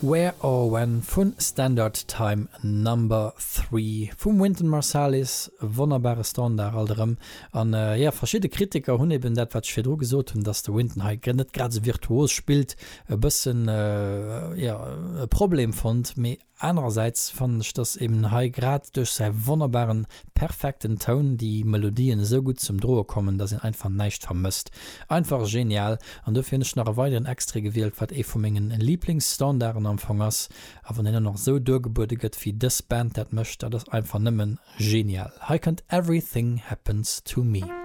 Where or When vu Standard Time Number 3 vum Wynton Marsalis, wonnerbare Standard alt erëm. An jo, verschidde Kritiker hunn eben dat wat ech virdru gesot hunn, dass de Wynton hei net grad esou virtuos spillt, e bëssen jo e Problem fonnt. Mee Anerersäits fannen ech, dass eben hei grad duerch säi wonnerbaren, perfekten Toun déi Melodien esou gutt zum Droe kommen, dass een einfach näischt vermësst. Einfach genial! An dofir hunn ech nach e weideren Extrait gewielt, wat ee vu mengen Lieblingsstandarden am Fong ass. A wann deen och nach esou duergebuede gëtt, wéi dës Band dat mécht, dat ass einfach nëmmen genial. Hei kënnt Everything Happens To Me.